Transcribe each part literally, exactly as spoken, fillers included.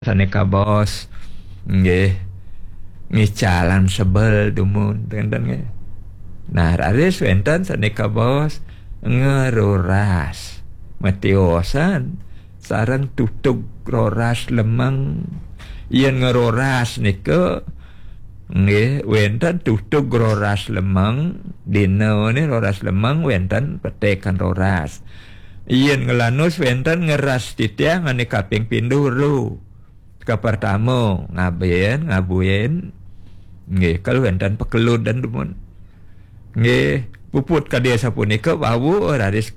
Sané kabaos, nggih, ngicalan sebel dumun, ten-ten nggih. Nah, raris wénten sané kabaos ngeroras. Matiosan sareng tutug roras lemeng. Yén ngeroras nika, nggih, wénten tutug roras lemeng, dina né roras lemeng wénten petikan roras. Yén nglanus wénten ngeras titiang ané kaping pindho ro. Kapertama, ngaben, ngabuin. Nggih, kal wénten pekelud dan dumun. Nggih, puput kadi sapunika wau raris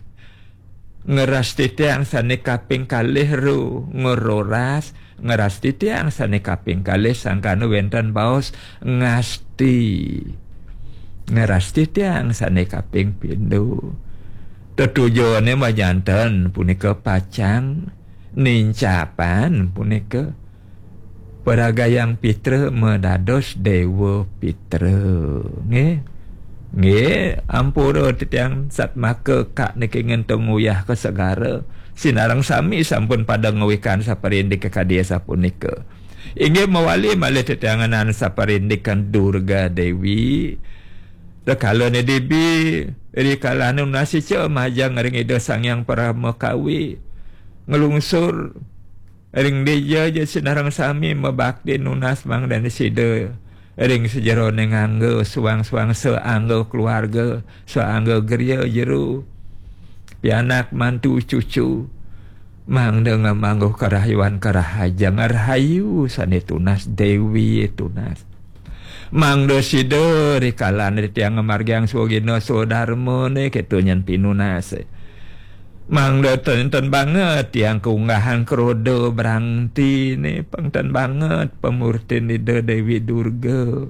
ngeras titiang sané kaping kalih ro, ngeroras, ngeras titiang sané kaping kalih sangkana wénten baos ngasti. Ngeras titiang sané kaping pindho. Tetujoné majanten punika pacang nincapan punika paragayang pitra madados déwa pitra. Nggih. Nggih, ampura titiang satmaka kak niki ngenteng uyah ka segara. Sinareng sami sampun pada ngawikan saparindik kadi sapunika. Inggih mawali malih titiang ngenan saparindikan Durga Déwi. Rekalane dibi, rikalane nunas ica majeng ring Ida Sang Hyang Parama Kawi. Nglungsur ring dija ja sinareng sami mabakti nunas mangdane sida ring sajerone ngangga suang-suang saangga keluarga, saangga griya jero. Pianak mantu cucu. Mangda ngamangguh karahayuan karahajeng rahayu sane tunas Dewi tunas. Mangda sida rikalan titiang ngamargiang swagina swadarmane keto nyen pinunase. Mangda ten-ten banget tiang kaunggahan kroda brangtine, pang ten banget pamurtin Ida Dewi Durga.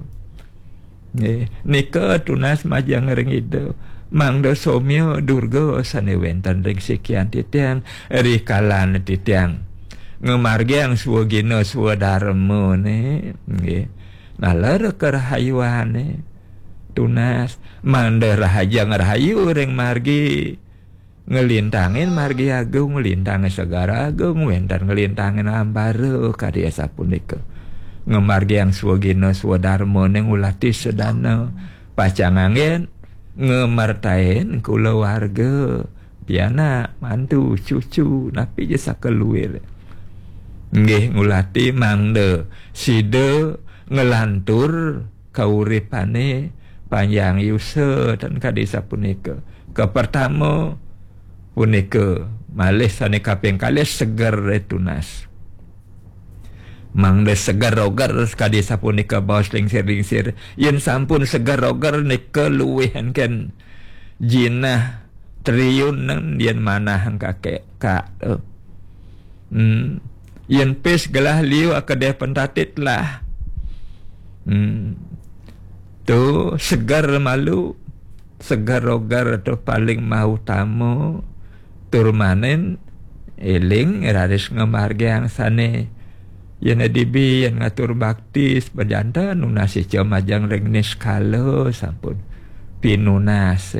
Nggih, nika tunas majeng ring Ida. Mangda somya Durga sane wenten ring sikian titiang, rikalan titiang ngamargiang swagina swadarmane, nggih. Naler karahayuane tunas, mangda rahajeng rahayu ring margi. Nglintangin margi agung, nglintangin segara agung, wenten nglintangin ambara kadi asapunika. Ngamargiang swagina swadarmane ngulati sedana, pacang anggen ngamartain kulawarga, pianak, mantu, cucu, napi ja sakaluir. Nggih ngulati mangda sida nglantur kauripane panjang yusa tan kadi sapunika. Kapertama punika malih sane kaping kalih seger tunas. Mangda seger roger kadi sapunika baos lingsir-lingsir. Yen sampun seger roger nika luwih angken jinah triyunan yen manah kakek kak. Hmm. Yen pis gelah liu akedeh pentatit lah. Hmm. Tu seger malu, seger roger tu paling mautama. Tur manen eling raris ngamargiang sane yen dibi yen ngatur bakti sepajanten nunas ica majeng ring niskala sampun pinunas.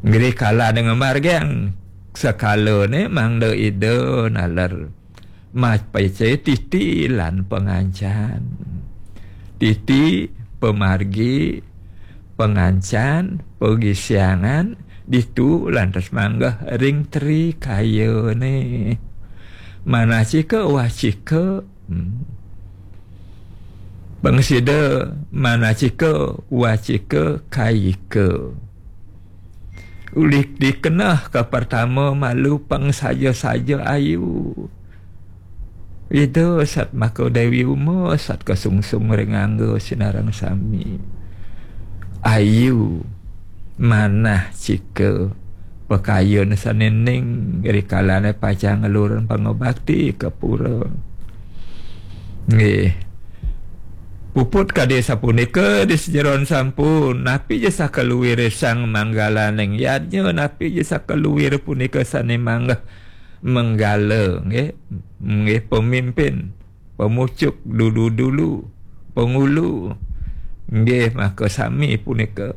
Ngrikala ngamargiang sekalane mangda Ida naler mapace titi lan pangancan. Titi pamargi pangancan pagisiangan ditu lantas manggeh ring trikayane. Manacika wacika, hmm. Pangsida manacika wacika kayika. Ulih dikeneh kapertama malu pangsaja-saja ayu. Ida sat maka Dewi Uma sat kasungsung ring angga sinareng sami. Ayu manah cika pakayun sane ning rikalane pacang ngelurin pangabakti ka pura. Nggih. Puput kadi sapunika di sajeroning sampun, napi ja sakaluwire sang manggalaning yadnya, napi ja sakaluwire punika sane manggeh manggala, nggih. Nggih, pemimpin, pemucuk, dulu-dulu, pengulu. Nggih, maka sami punika.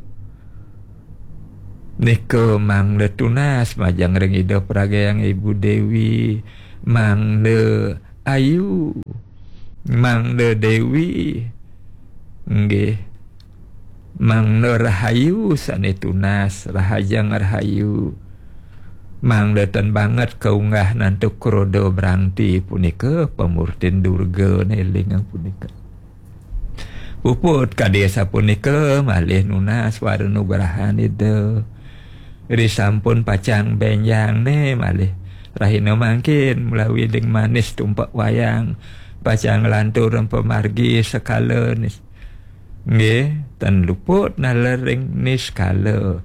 Nika mangda tunas majeng ring Ida Pragyang Ibu Dewi, mangda Ayu, mangda Dewi, nggih, mangda Rahayu sane tunas, Rahajeng Rahayu. Mangda ten banget kaunggah nantuk kroda brangti punika pamurtin Durga nelingang punika. Puput kadi sapunika malih nunas wara nugrahan Ida. Risampun pacang benjang ne malih rahina mangkin mlawi ding manis tumpek wayang pacang lantur pamargi sekala nis. Nggih, ten luput naler ring niskala.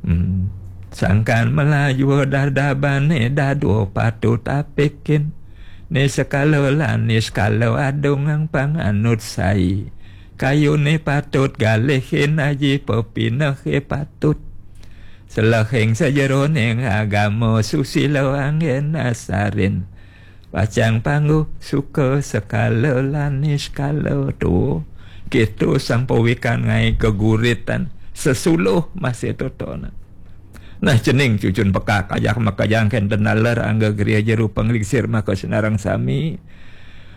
Hmm. Sangkan melaju dardabane dadua patut apikin. Niskala lan niskala adungang panganut sai. Kayune patut galihin aji pepinehe patut. Selehing sajeroning agama susila anggen asarin. Pacang pangguh suka sekala lan niskala tu. Kitu sang pawikan ngai geguritan sesuluh masih totonan. Nah, cening cucun pekak ajak makajang kenten naler angga griya jeru panglingsir maka senarang sami.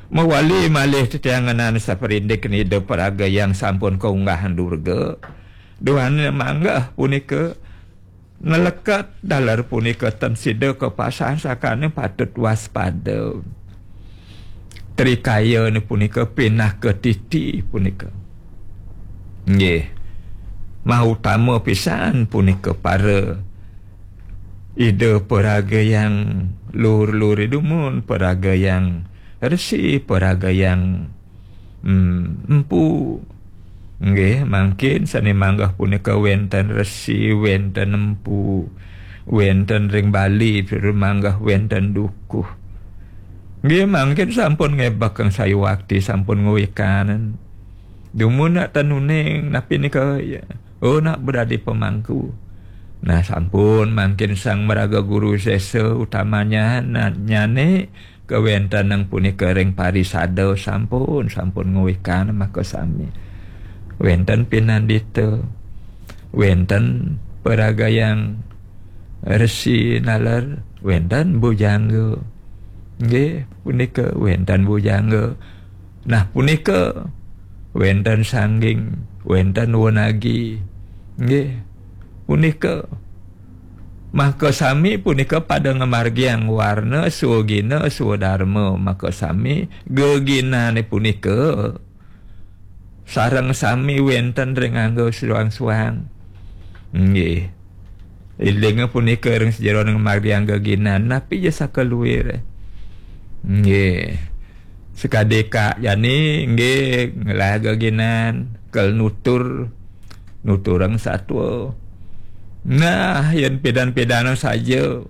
Mawali malih tetianganan saperindik nida paraga yang sampun kaunggahan Durga. Duhane manggah punika naleket daler punika ten sida kapasan sakane patut waspada. Trikayane punika pinaka titi punika. Nggih. Mautama pisan punika para Ida paraga yang lur-lur dumun, paraga yang resi, paraga yang, hmm, empu. Nggih, mangkin sane manggah punika wenten resi, wenten empu, wenten ring Bali, manggah wenten dukuh. Nggih, mangkin sampun ngebak kang sayuwakti, sampun ngwikanen. Dumun nak tenuning, napi nika, ya. Oh, nak beradi pemangku. Nah, sampun mangkin sang maraga guru sesa utamanya na-, nyane kawentenang punika ring parisada sampun, sampun ngwikan maka sami. Wenten pinandita, wenten paragayang resi naler, wenten bujangga. Nggih, punika wenten bujangga. Nah, punika wenten sangging, wenten wenagi. Nggih, punika maka sami punika pada ngamargiang warna, swagina, swadarma. Maka sami geginane punika sareng sami wenten ring angga suang-suang. Nggih. Ilinga punika ring sajeroning ngamargiang geginan, napi ja sakaluire. Nggih. Sakadi Kak Yani, nggih, ngelah geginan, kel nutur, nuturang satua. Nah, yen pidan-pidanang saja,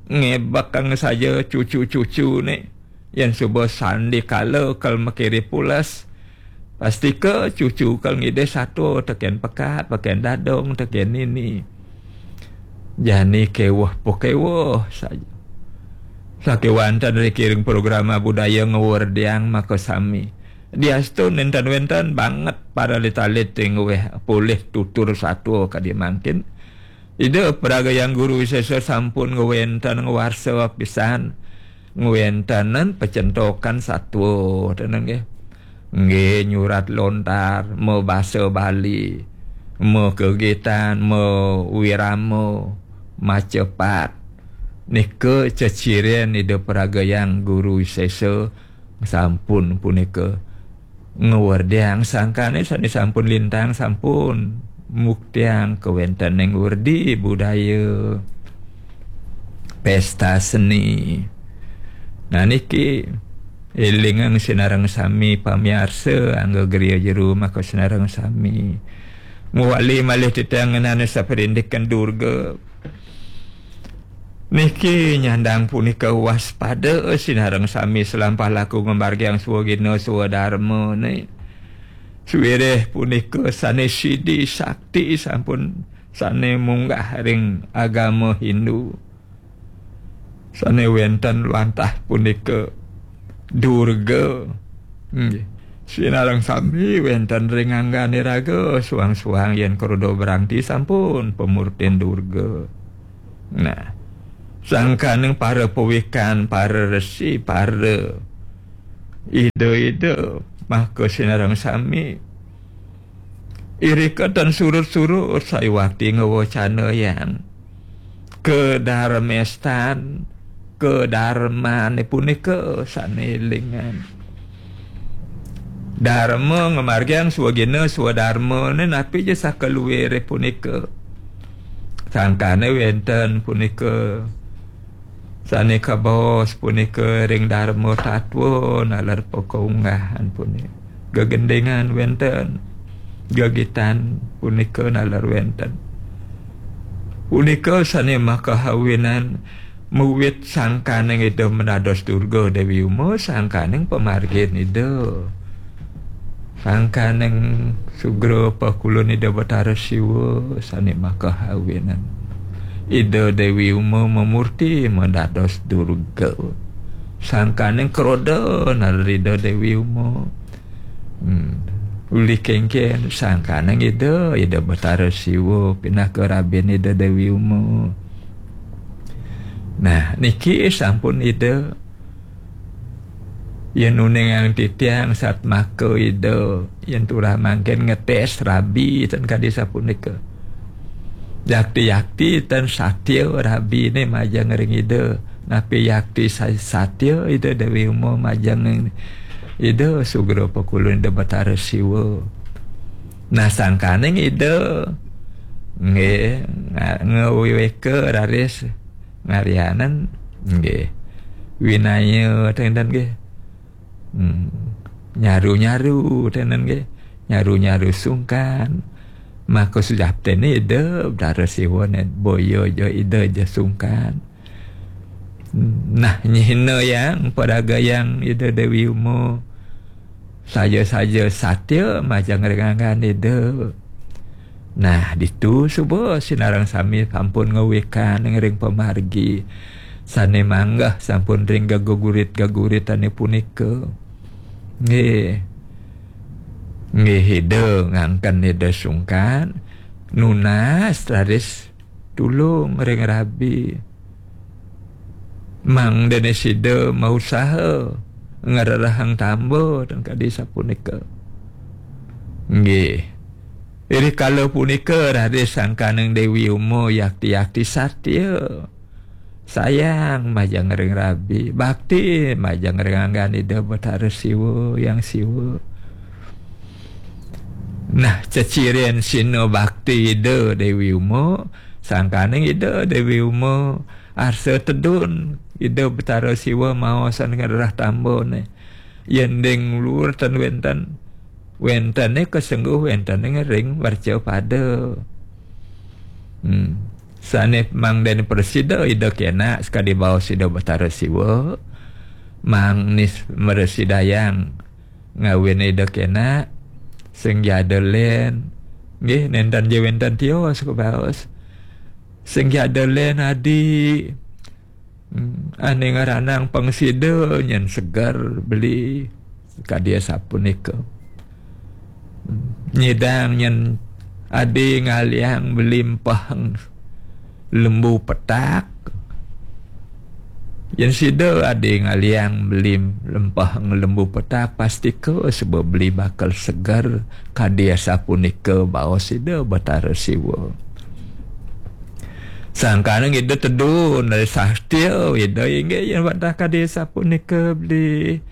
ngebekang saja cucu-cucune, yen suba sandikala kel makire pules, pastika cucu kel ngidih satua teken pekat, teken dadong, teken nini. Jani keweh pakeweh saja. Sakewanten ring kiring programa budaya ngwerdiang maka sami. Diastun nenten wenten banget para litalit ring weh polih tutur satua kadi mangkin. Ida paragayang guru sesa sampun ngwenten ngwarsa pisan. Ngwentenen pacentokan satua, teneng nggih. Nggih, nyurat lontar, mabasa Bali, makegitan, mawirama, macepat. Nika ceciren ida paragayang guru sesa sampun punika. Ngwerdiang sangkane sane sampun lintang, sampun muktiang kawentening werdi budaya pesta seni. Nah, niki elingang sinareng sami pamiarsa angga griya jeru maka sinareng sami. Muwali malih titiang ngenana saparindikan Durga. Niki nyandang punika waspada sinareng sami selampah laku ngamargiang swagina swadarmane. Swiréh punika sane sidi sakti sampun sane munggah ring agama Hindu. Sane wenten wantah punika Durga. Nggih. Sinareng sami wenten ring anggane raga suang-suang yen kroda brangti sampun pamurtin Durga. Nah, sangkaning para pawikan, para resi, para Ida-ida maka sinareng sami. Irika tan surut-surut sayuwakti ngawacanayang kadarmestan, kadarmane punika sane lingan. Darma ngamargiang swagina swadarmane napi ja sakaluire punika. Sangkane wenten punika sane kabaos punika ring darma tatwa naler pakaunggahan punika. Gegendingan wenten, gegitan punika naler wenten. Punika sane makahawinan mawit sangkaning Ida madados Durga Dewi Uma, sangkaning pamargin Ida. Sangkaning sugra pakulun Ida Batara Siwa sane makahawinan. Ida Dewi Uma mamurti madados Durga. Sangkaning kroda naler Ida Dewi Uma. Hmm. Uli kengken sangkaning Ida, Ida Batara Siwa pinaka rabin Ida Dewi Uma. Nah, niki sampun Ida. Yen uningang titiang satmaka Ida, yen turah mangkin ngetes rabi ten kadi sapunika. Yakti-yakti ten satya rabine majeng ring Ida. Napi yakti sa-, satya Ida Dewi Uma majeng Ida sugra pakulun Ida Batara Siwa. Nah, sangkaning Ida nggih nga-, ngawiweka raris ngaryanan nggih. Winaya tenten nggih. Hmm. Nyaru-nyaru tenten nggih. Nyaru-nyaru sungkan. Maka sujatine Ida Batara Siwa ne boya ja Ida ja sungkan. Nah, nyihna yang paragayang Ida Dewi Uma. Saja-saja satya majeng ring anggan Ida. Nah, ditu suba sinareng sami sampun ngawikan ring pamargi sane manggeh sampun ring gegurit-geguritane punika. Nggih. Nggih, Ida ngangken Ida sungkan nunas raris tulung ring rabi. Mangdene sida mausaha ngrerehang tamba ten kadi sapunika. Nggih. Iri kala punika raris sangkaning Dewi Uma yakti-yakti satya. Sayang majeng ring rabi, bakti majeng ring anggan Ida Batara Siwa, Yang Siwa. Nah, ceciren sina bakti Ida Dewi Uma, sangkaning Ida Dewi Uma arsa tedun Ida Batara Siwa maosan ngrereh tambane. Yen ding luhur ten wenten, wentene kasengguh wentene ring mercapada. Hmm. Sane mangdene prasida Ida kena sakadi baos Ida Batara Siwa. Mangda prasidayang ngawin Ida kena sing jada len. Nggih, nenten ja wenten tios kabaos. Sing jada len adi. Hmm, ane ngranang pang sida nyen seger beli kadi asapunika. Hmm, nyidang nyen adi ngalihang beli empehang lembu petak. Yen sida adi ngalihang beli empehang lembu petak, pastika suba beli bakal seger kadi asapunika baos Ida Batara Siwa. Sangkaning Ida tedun dari satya, Ida inggih yen wantah kadi sapunika beli.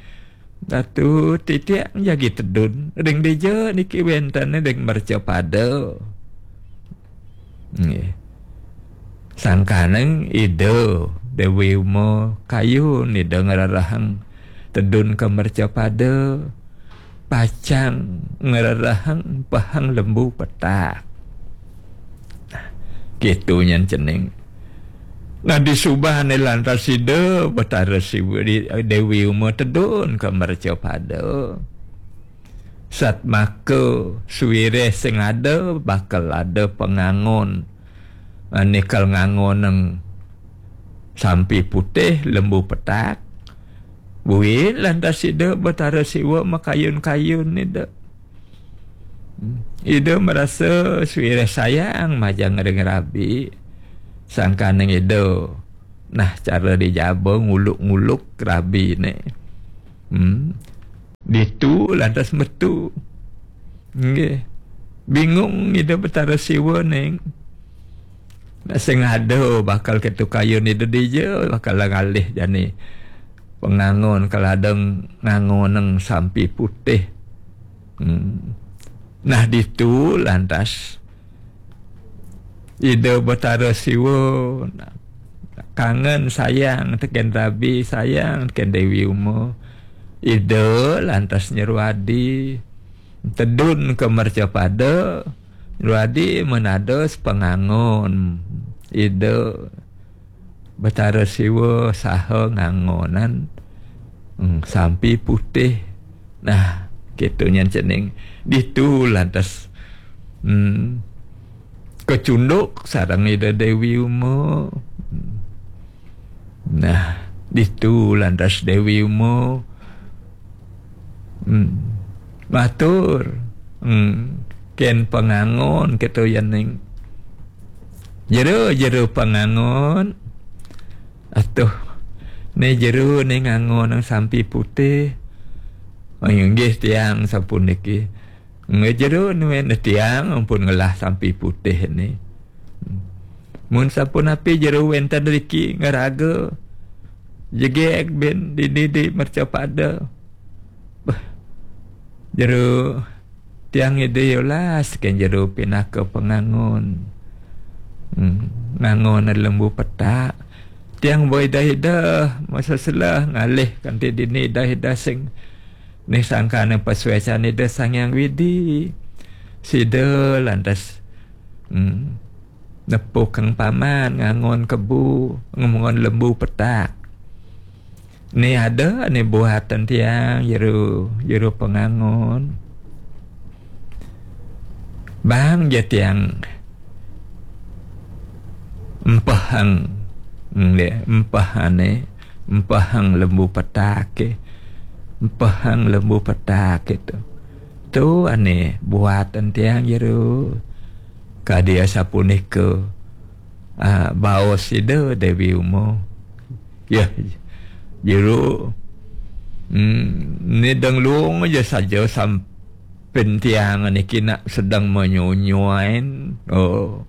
Datu titiang jagi tedun, ring dija niki wenten ring mercapada. Nggih. Sangkaning Ida Dewi Uma kayun Ida ngrerehang tedun ka mercapada. Pacang ngrerehang empehang lembu petak. Nah, gitu nyen cening. Nah, disubane lantas Ida Batara Siwa, Dewi Uma tedun ka mercapada. Satmaka sawireh sing ada bakal ada pangangon. Ane kal ngangonang sampi putih lembu petak. Buin lantas Ida Batara Siwa makayun-kayun Ida. Ida merasa sawireh sayang majeng ring rabi. Sangkaning Ida. Nah, cara dijaba nguluk-nguluk rabine. Hmm. Ditu lantas metu. Nggih. Bingung Ida Betara Siwa ning. Nak sing ada bakal ketu kayun Ida dija, bakal ngalih jani pengangon, kal ada ngangonang sampi putih. Hmm. Nah, ditu lantas Ida Betara Siwa kangen, sayang teken rabi, sayang teken Dewi Uma. Ida lantas nyeru adi, tedun ke mercapada, nyeru adi men ada sepengangon Ida Betara Siwa saha ngangonan, hmm, sampi putih. Nah, ketu nyan cening. Ditu lantas, hmm, kecunduk sareng Ida Dewi Uma. Nah, ditu lantas Dewi Uma, hmm, matur, hmm, ken pengangon ketu yening. Jero, jero pengangon. Atuh, ne jero ne ngangonang sampi putih. Oh, inggih tiang sapuniki. Nggih jero nuwun tiang ampun ngelah sampi putih ni. Mun sapunapi jero wenten riki ngeraga jegeg bin dini di mercapada. Beh, jero tiang Ida yolas ken jero pinaka pengangon. Hmm, ngangon lembu petak. Tiang boi dah Ida masa selah ngalih kanti dini dah Ida sing ni sangkana pasuecan Ida Sang Hyang Widi. Sida lantas, hmm, nepukang paman ngangon kebu, ngangon lembu petak. Ni ada ni buatan tiang jero, jero pengangon. Bang ja tiang empehang, nggih, empehane, empehang lembu petak ke. Empehang lembu petak itu. Tu ane buatan tiang jero. Kadi asapunika, ah, baos Ida Dewi Uma. Ya, jero. Hmm, ni denglung aja saja sampin tiang niki nak sedang menyonyoin. Oh,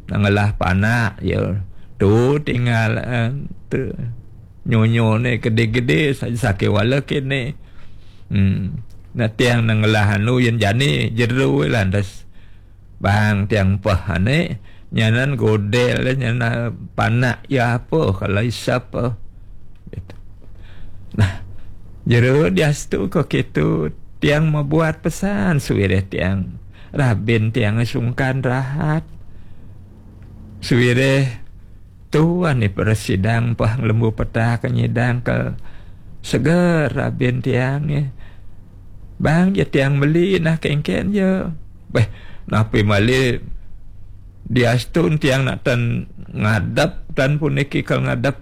nak ngelah panak ya. Tu tinggal, eh, tu. Nyonyo ni gede-gede saja sakit wala kene. Hmm. Nah tiang nak ngelah anu yen jani jero lantas. Bang tiang peh ane, nyanan godel, nyanan panak ya apa kalau isap, eh. Gitu. Nah, jero diastu ko kitu tiang mabuat pesan suwireh tiang. Rabin tiang sungkan rahat. Suwireh tuan ni peresidang pah lembu petak nyidang ke seger rabin tiang, eh. Bang je tiang meli nah kengken je. Beh, napi malih diastun tiang nak tan ngadep, tan puniki kal ngadep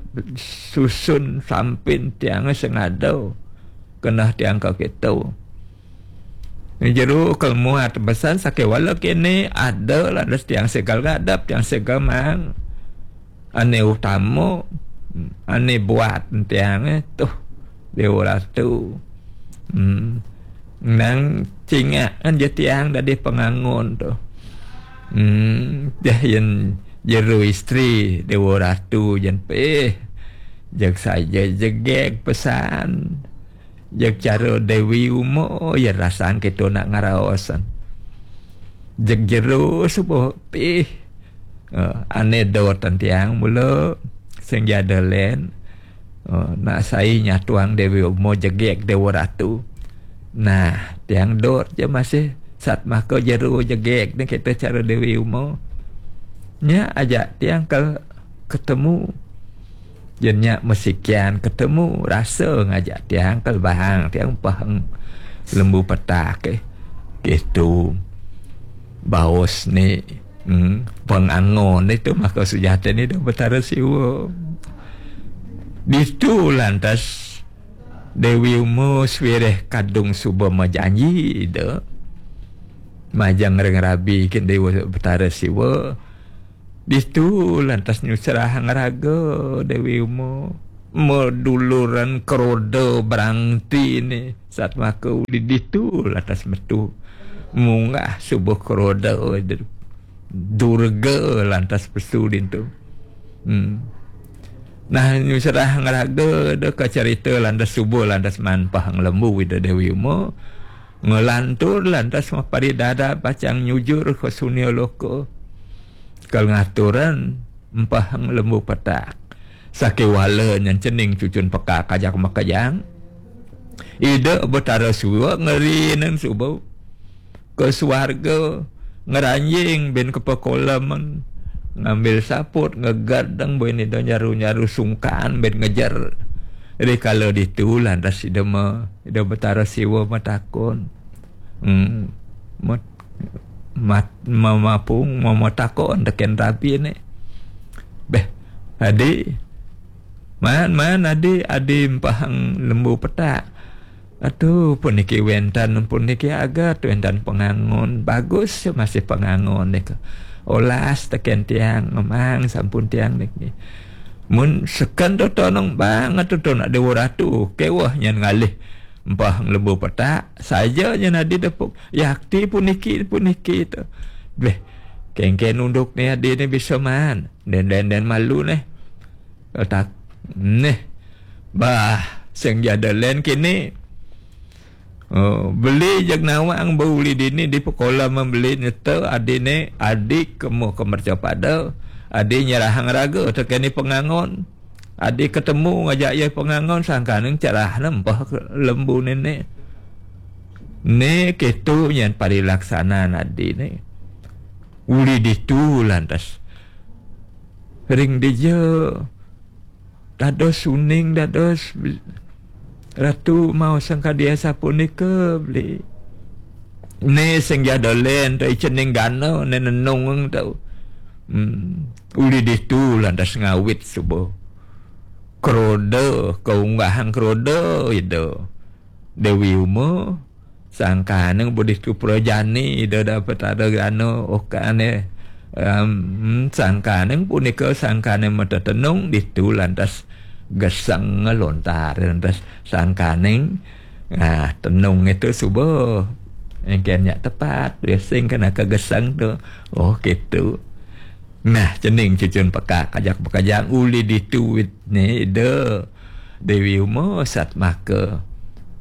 susun sampin tiang sengado. Kenah tiang ka kitu. Ni jero kal muat pesan sakewala kene ada lantas tiang segal ngadep, tiang segal mang. Ane utama, ane buat tiang, eh, tuh, Dewa Ratu. Hmm. Nang cingakan je tiang dadi pengangon tuh. Hmm, jah yen jero istri Dewa Ratu jen peh. Jeg saja jegeg pesan. Jeg cara Dewi Uma, ya rasan kita nak ngaraosan. Jeg jero subuh pih. Eh, ane dot tiang mula sing jada len. Eh, nak sai nyatuang Dewi Uma jegeg Dewa Ratu. Nah, tiang dot je masih sat maka jero jegeg ni kita cara Dewi Uma. Nya ajak tiang ke ketemu. Yen nya mesikian ketemu, rasa ngajak tiang ke lebahang, tiang pahang lembu petak, eh. Gitu. Baos ni, hmm, pengangon itu maka sujata ni dah Betara Siwa. Ditu lantas Dewi Uma swireh kadung suba majanji ida. Majang ring rabi kin Dewa Betara Siwa. Ditu lantas nyusrahang raga Dewi Uma. meduluran kroda brangti ni, satmaka uli ditu lantas metu munggah suba kroda Durga lantas pesu dintu. Hmm. Nah, nyusrah ngraga da kacarita lantas suba lantas manpah nglembu Ida Dewi Uma. Ngelantur lantas maparidada pacang nyujur ka sunia loka. Kal ngaturan empah nglembu petak. Sakiwala nyen cening cucun pekak ajak makejang. Ida Betara Siwa ngerinan suba ke suarga, ngranjing bin ke pekoleman, ngambil saput, ngegerdeng bin ida nyaru-nyaru sungkan bin ngejer. Rikala ditu lantas ida me, ida Betara Siwa metakon. Hmm, met, mat, mamapung, mamatakon teken rabi ni. Beh, adi, man, man, adi, adi empahang lembu petak. Aduh, puniki wenten, puniki agat, wenten pengangon. Bagus masih pengangon nika. Olas teken tiang, memang sampun tiang niki. Mun seken tu tonong banget tu nak Dewa Ratu, kewah nyen ngalih empah lembu petak, saja nyen adi depuk. Yakti puniki, puniki tu. Beh, kengken unduk ni adi ni bisa man. Den, den, den malu ni. Tak, neh. Bah, sing jada len kini. Oh, beli jeg nawang ba uli dini di pekola membeli nyeta adi ne, adi kemu ke merca pada, adi nyerahang raga tekeni pengangon. Adi ketemu ngajak iya pengangon sangkaning cerah nempah ke lembu nene. Ne ketu nyen parilaksanaan adi ne. Uli ditu lantas. Ring dija dados uning dados beli. Ratu mau sangkadia sapunika beli. Ne sing jada len tu cening gana ne nenung tu. Hmm. Uli ditu lantas ngawit suba. Kroda, kaunggahang kroda ida. Dewi Uma, sangkaning budi tu prajani ida dapat ada gana okane. Um, sangkaning punika sangkaning mata tenung ditu lantas geseng ngelontar lantas sangkaning ah, tenung itu suba. Engken nyak tepat, biasing kena ke geseng tu. Oh, gitu. Nah, cening cucun pekak, kajak bekajang uli ditu wit ni ida. Dewi Uma satmaka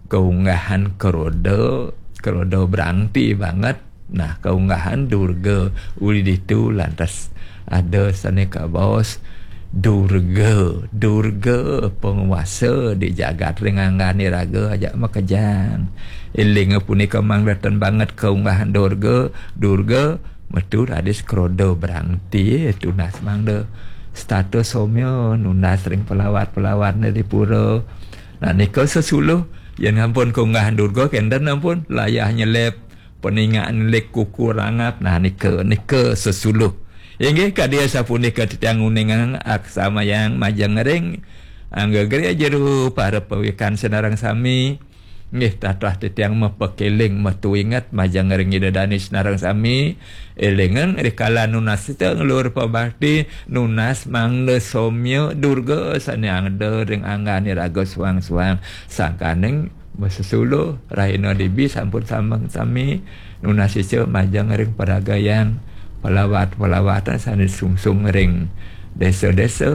kaunggahan keroda, keroda berangti banget. Nah, kaunggahan Durga uli ditu lantas ada sane kabaos Durga, Durga penguasa di jagat ring anggane raga ajak makejang. Eling punika mangdatan banget kaunggahan Durga, Durga metu raris kroda berangti tunas mangda status somya nunas ring pelawat-pelawatne di pura. Nah, nika sesuluh yen ampun kaunggahan Durga kenten ampun layah nyelep peningakan lik kuku rangap. Nah, nika, nika sesuluh. Inggih kadi sapunika titiang uningang aksamayang majeng ring angga griya jero para pawikan sinareng sami. Nggih, tatah titiang mapakeling matuinget majeng ring Ida Dane sinareng sami. Elingang rikala nunas titiang luhur pabakti, nunas mangda somya Durga sane angda ring anggane raga suang-suang. Sangkaning masesuluh rahina dibi sampun sambeng sami nunas ica majeng ring paragayang palawat-palawatan sane sungsung ring desa-desa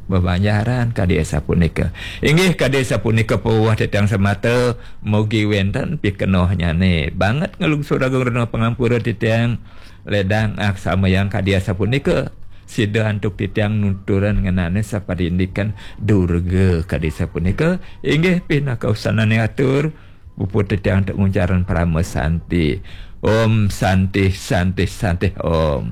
bebanjaran kadi sapunika. Inggih kadi sapunika pawuh titiang semata, mugi wenten pikenohnyane. Banget nglungsur agung rena pangampura titiang ledang aksamayang kadi sapunika. Sida antuk titiang nuturan ngenane saparindikan Durga kadi sapunika. Inggih pinaka usanane atur, puput titiang antuk nguncaran parama santi. Om Santi, Santi, Santi, Om.